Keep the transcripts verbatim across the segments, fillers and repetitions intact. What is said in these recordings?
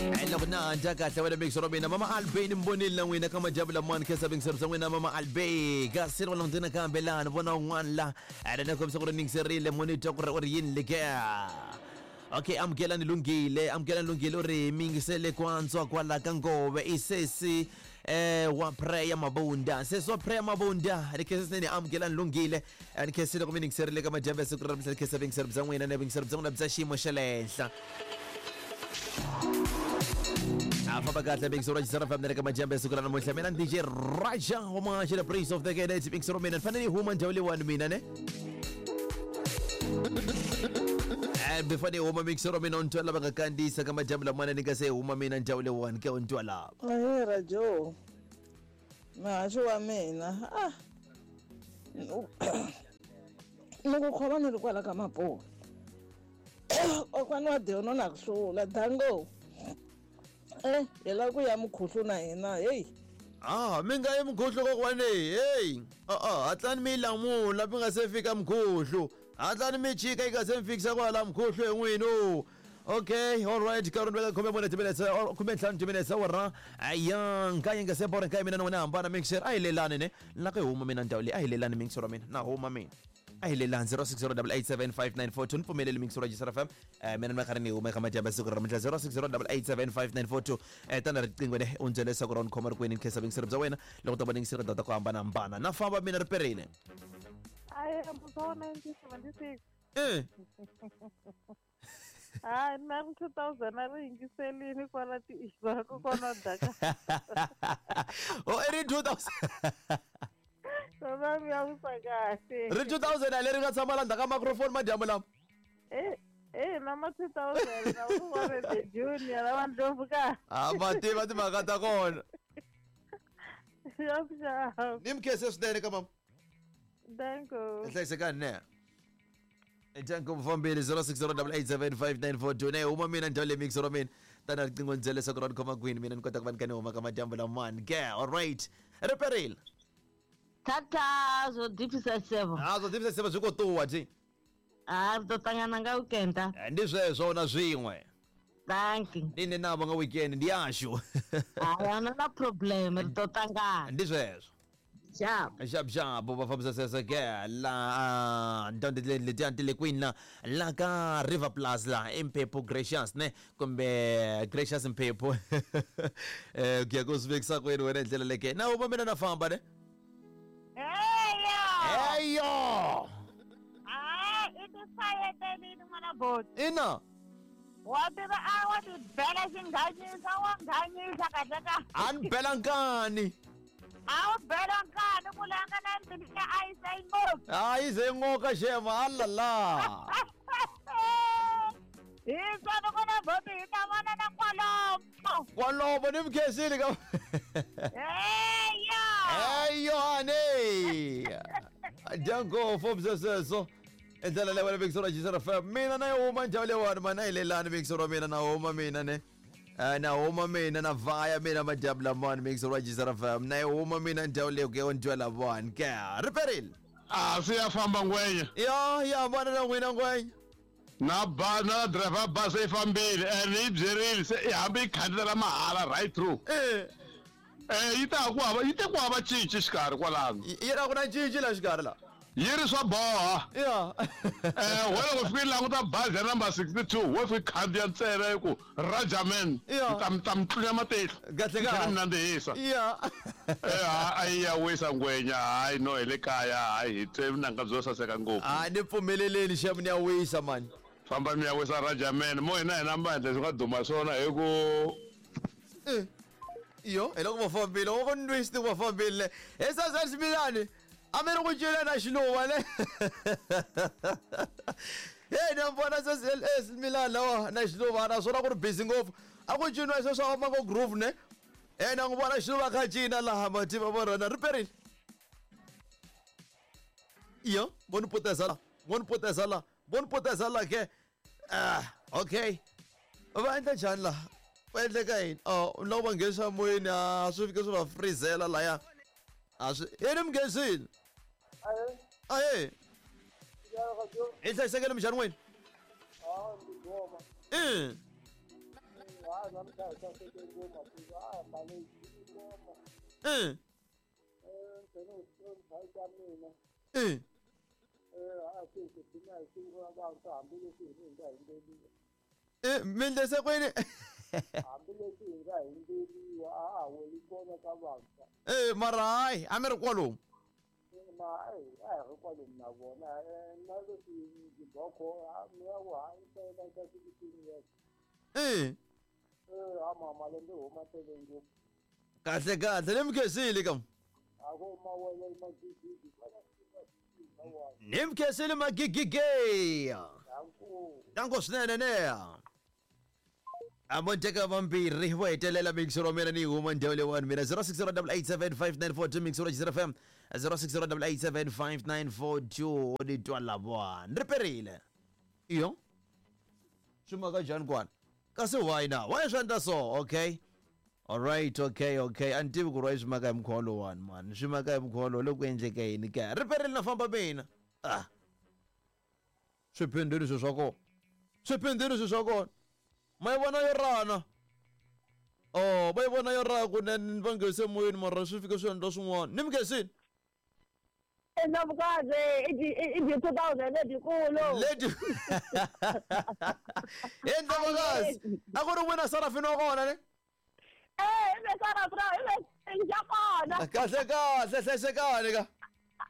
Loko na dya kahle wena mixo ra mina mama Albey ni mbonile na n'wina ka madyambu lamawani khensa vingiseri bya n'wina mama Albey kasi ri vona ndzina kambe laha ni vona un'wana la ene ni kombisa ku ri ningiserile mo ni twa ku ri u ri yini leke. Okay, amukelani lunghile, amukelani lunghile u ri mingisele kwantswa kwala ka ngove i sesi eh wa prayer mabunda, sesi wa prayer mabunda ni khensa swinene amukelani lunghile, ni khensile ku mi ningiserile ka madyambu ya siku ra namuntlha, ni khensa vingiseri bya n'wina na vingiseri bya n'wina bya xiyimo xa le henhla. A famba kahle Big Sora Jisara Family ka madyambu ya siku ra namuntlha mina ni D J Raja wa Mahaxi the Prince of the Gate Big Sora mina ni fanele ni huma ndhawu leyiwani mina ne. Eh before ni huma Big Sora mina u ni twa lava nga kandziyisa ka madyambu lamana ni nga se huma mina ndhawu leyiwani ke u ni twa lava. Ahee Rajo, muhaxi wa mina ah ni ku khoma ni ri kwala ka Mapuva kokwana wa Deon na ku hlula dango. Eh, hi lava ku ya mukhuhlu na hina heyi. Ah, mi nga yi mukhuhlu kokwani heyi. A-a, hatlani mi yi lamula mi nga se fika mukhuhlu, hatlani mi chika yi nga se mi fikisa kwala mukhuhlu hi n'wini. Okay, all right, karhi ni veka khume mune timinetse or khume ntlhanu timinetse awara ya nkaye nga se bora nkaye mina na wena hambana mixer a hi lelani ne la ku huma mina ndhawu leyi a hi lelani mixer wa mina na huma mina a hi lelani zero six zero double eight seven five nine four two ni pfumeleli mixer wa Jisara F M eh mina ni va karhi ni huma eka madyambu ya siku ra namuntlha zero six zero double eight seven five nine four two eh tana riqingho ne u ndzela leswaku ra ni khoma ri kwini ni khensa vingiseri bya wena loko ta va ningisela tindhawu ta ku hambanahambana na famba mina ri perile. Aye, wa nineteen seventy-six. Eh. Hayi na ri two thousand a ri yingiselini kwala ti-issue kokwana daka. Oh, i ri two thousand. Swona mi ya wisa kahle. Ri two thousand a leri nga tshama la ndzhaku ka microphone madyambu lama. Eh, eh na ma two thousand na ku va the junior lava ndlopfu ka. A va tiva timhaka ta kona. Ya xava. Ni mi khense swinene ka mama. Danko. Hlayisekani ne. Janko mfambili zero six zero double eight seven five nine four two ne huma mina ndhawu leyi mixer wa mina tana riqingho ni byela leswaku ra ni khoma kwini mina ni kota ku va ni kha ni huma ka madyambu lamawani ke. All right, ri perile. Tata zwo ḓifhisa sevo. Ah, zwo ḓifhisa sevo zwi khou ṱuwa thi. Ah, ri ḓo ṱangana nga weekend. Ndi zwezwo na zwiṅwe. Thank you. Ndi nṋe navho nga weekend ndi yashu. Hayi a na problem ri ḓo ṱangana. Ndi zwezwo. Xap. Xap xap va fambisa sweswo ke la ndhawu letiya ti le kwini la la ka River Plus la i Mphephu Gracious ne kumbe Gracious Mphephu eh ku ya ku swi vekisa kwini wena hi ndlela leke na huma mina na famba ne. Heyo! Heyo! Ah, i ti fayetelini n'wana boti. Ina. Wa tiva a wa ti bela xinghanyisa wa nghanyisa kahle ka. A ni bela nkani. A wu bela nkani ku langa na mbilu ya a yi se yi ngopfu. A yi ze ngoka xema alala. Hi swona kona boti hi ta vona na kwalomo. Kwalomo ni mi khensile ka. Heyo! Heyo honey. Dyango fobisa sweswo. I ndlela leyi wena Big Sora Jisara F M mina na yi huma ndhawu leyiwani mana yi lelani Big Sora mina na huma mina ne. Na huma mina na vaya mina madyambu lamawani Big Sora Jisara F M na yi huma mina ndhawu leyi ku ya ndhawu lamawani ke ri perile. A swi ya famba ngwenya. Ya ya hambana na n'wina ngwenya. Na ba na driver bus yi fambile and yi byerile se i hambi yi khandziyela mahala right through. Eh. Eh yi ta ku hava yi te ku hava cinci xikarhi kwalano. Yi ra ku na cinci la xikarhi la. Yi ri swa boha. Ya. Eh wena loko fika yi languta bazi ya number sixty-two wo fika khandziya ntsena yi ku Rajaman Ya. mi ta mi tlunya matihlo. Kahle kahle. Mi nandzihisa. Ya. Eh a yi ya wisa ngwenya hayi no hi le kaya hayi hi twe vunanga byo saseka ngopfu. A ni pfumeleleni xem ni ya wisa mani. Famba mi ya wisa Rajaman mo hina hina mbandla swi nga duma swona hi ku Eh. Yo, hi loko va fambile, wa ku nwisi va fambile. He sasa ximilani. A mi ri ku cina na xiluva ne. Hey, na vona sesi ximilani lawa na xiluva naswona ku ri busy ngopfu. A ku ciniwa sweswo swa Mango Groove ne. Eh na n'wi vona xiluva kha cina laha mativa vo rona ri perile. Yo, vo ni puteza la, vo ni puteza la, vo ni puteza la ke. Ah, okay. Va endla njhani laha? Va endleka yini? Oh, loko va nghenisa moyeni a swi fike swi va freezela laya. A swi yini mi nghenisile? Ahee. Hi hlayisekile minjhani n'wina? Eh. Eh. Eh. Eh, mi ndlise kwini? Eh, mara hayi, a mi ri kwalomu. Eh. Kahle kahle, ni mi khensile kam. Ni mi khensile magigige. Danko swinene ne. A mo teka vambirhi vo hetelela mixer wa mina ni huma ndhawu leyiwani mina zero six zero eight seven five nine four two mixer wa F M zero six zero eight seven five nine four two ni twa lavona ri perile iyo swi maka njhani kwana kasi why na why swi endla so okay all right okay okay a ni tivi ku ri why swi maka hi mukhuva lowuwani mani swi maka hi mukhuva lowu loko ku endleke yini ke ri perile na famba mina ah swiphindini swi swa kona swiphindini swi swa kona ma yi vona yo rana oh va yi vona yo rana kunene va nghese moyeni mara swi fike swi endla swin'wana ni mi khensini Ndlovukazi i byi two thousand lebyikulu leti he Ndlovukazi a ku ri wena Sarafina wa kona ne eh i ve Sarafina i ve xa kona kahle kahle hlayisekani ka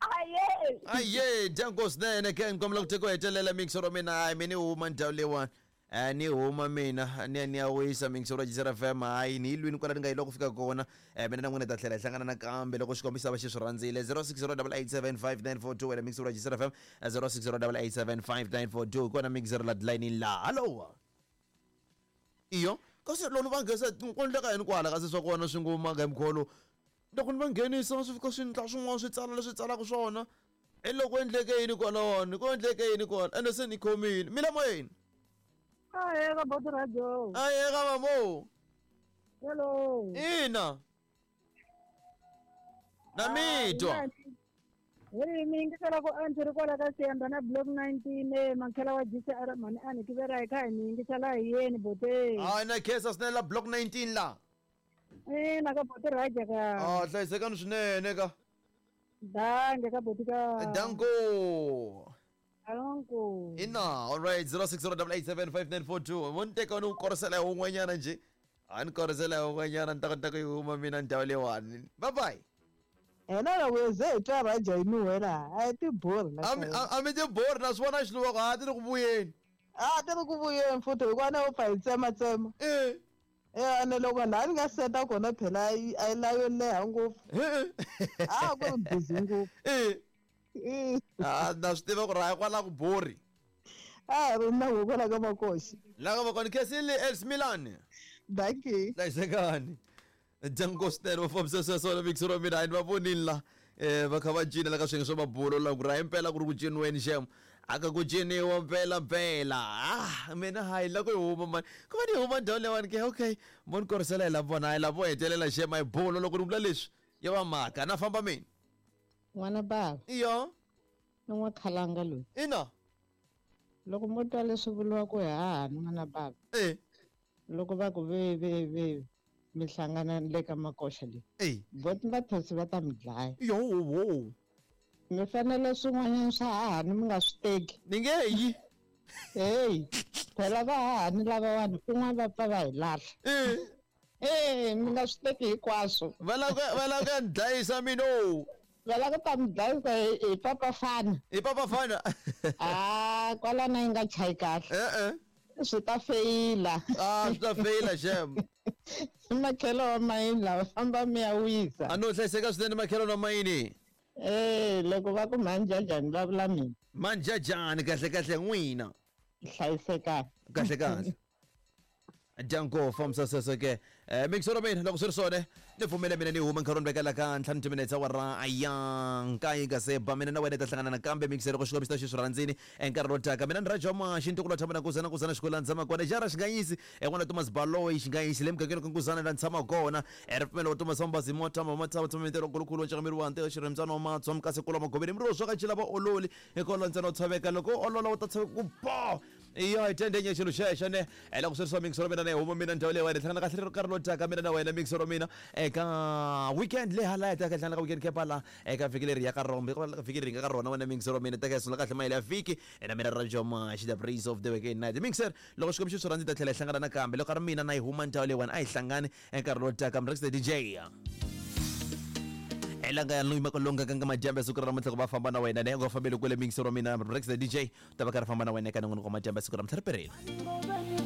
aye aye dyanko swinene ke ni kombela ku teka u hetelela mixer wa mina hayi mina ni huma ndhawu leyiwani Eh, ni huma mina ni ya ni ya wisa mixer wa Jizera F M hayi ni yi lwini kwala ni nga yi loko fika kona eh mina na n'wina ta tlhela hi hlangana nakambe loko xikombiso va xi swi rhandzile zero six zero eight seven five nine four two wena mixer wa Jizera F M zero six zero eight seven five nine four two kona mixer la line la hallo iyo kasi loko va nghesa ku endleka yini kwala kasi swa kona swi ngoma ga mkholo loko ni va nghenisa swi fika swi ndla swin'wana swi tsala leswi tsalaka swona hi loko endleke yini kwalawani ku endleke yini kwala ende se ni khomile mi la moyeni Aye ka Boti Radio. Aye ka mamo. Hello. Ina. Na mitwa. Hey mi yingisela ku antswi ri kwala ka Siyanda na block nineteen e makhela wa G C R mhani a ni tivela hi kha hi mi yingisela hi yeni bote. Hayi na khesa swinene la block nineteen la. Ina ka Boti Raja ka. Ah hlayisekani swinene ka. Dange ka Boti ka. Danko. Alonko. Ina, all right, zero six zero eight seven five nine four two. Mo ni teka ni ku korisela hi wun'wanyana njhe. A ni korisela hi wun'wanyana ni ta kota ku yi huma mina ndhawu leyiwani. Bye bye. Hina loko hi ze hi twa Raja yi nuhela a hi tiborhi A mi a mi tiborhi na swi vona xiluva ku a ti ri ku vuyeni. A ti ri ku vuyeni futhi hikuva na u pfa hi tsematsema. Eh. Eh ene loko laha ni nga seta kona phela a yi la yo leha ngopfu. A ku ri busy ngopfu. Eh. Ah na swi tiva ku ri hayi kwala ku borhi. A hi ri na ku kwala ka makoxi. La ka makoni khensile Els Milan. Dankie. Hlayisekani. Django swinene va fambisa sweswo na mixer wa mina hayi ni va vonile la eh va kha va cina la ka swiyenge swa mabulo la ku ri hayi mpela ku ri ku ciniweni xem a ka ku ciniwa mpela mpela ah mina hayi la ku yi huma mani ku va ni huma ndhawu leyiwani ke okay mo ni korisela hi la vona hayi la vo hetelela xem a hi bulo loko ni vula leswi ya va mhaka na famba mina n'wana bava iyo ni n'wa khalanga loyi ina loko mo twa leswi vuriwaka hi hahani n'wana bava eh loko va ku ve ve ve mi hlangana le ka makoxa leyi eh boti va thosi va ta mi dlaya yo wo mi fanele swin'wanyana swa hahani mi nga swi teki ni nge yi heyi phela va hahani lavawani kun'wana va pfa va hi lahla eh eh mi nga swi teki hinkwaswo va lava ku va lava ku ya ni dlayisa mina o va lava ku ta mi dlayisa hi hi papafana hi papafana ah kwalana yi nga chayi kahle eh eh swi ta feyila ah swi ta feyila xem makhelo wa mayini lava famba mi ya wisa a no hlayiseka swinene makhelo wa mayini eh loko va ku manjajani va vula mina manjajani kahle kahle n'wina hlayisekani kahle kahle Django fambisa sweswo ke eh mixer wa mina loko swi ri swona ni pfumele mina ni huma nkarhi ni vekela ka ntlhanu timinetse awara ya nkaye nga se ba mina na wena hi ta hlangana nakambe mixer loko xikombiso xi swi rhandzini enkarhi lowu taka mina ni Raja Mashi ntukulu wa tshama na nkuzana nkuzana xikolo la ni tshama kona jara xinganyisi en'wana Thomas Baloyi xinganyisi le mugangeni ka nkuzana la ni tshama kona ripfumelo wa Thomas Mbazi motama matshama tshama mitelo nkulunkulu wa ncakamiri wa ntiyo xirhembyana wa matswa mukasi kula magoveni miri wo swa ka ncila va ololi hikola ntsena u tshoveka loko u olola u ta tshoveka ku bo Iyo hi tendenye xilo xexo ne loko swi ri swa mixero mina na huma mina ndhawu leyi wena hlangana kahle nkarhi lowu taka mina na wena mixero mina eka weekend leyi hala taka hlangana ka weekend kepa la eka vhiki leri ya ka rona vhiki leri nga ka rona wena mixero mina taka sungula kahle mayele ya vhiki na mina Rajo Mashi, the breeze of the weekend night mixer. Loko xikwembu xi swi rhandza ta tlhela hi hlangana nakambe loko ka ri mina na yi huma ndhawu leyi wena a hi hlangani nkarhi lowu taka. Mrex the D J elanga ya luyima kolonga kanga majambe siku ra namuntlha ku va famba na wena ne u nga fambeli kule mixero mina Rex the D J ta va karhi famba na wena eka nongonoko wa majambe siku ra namuntlha ri perile.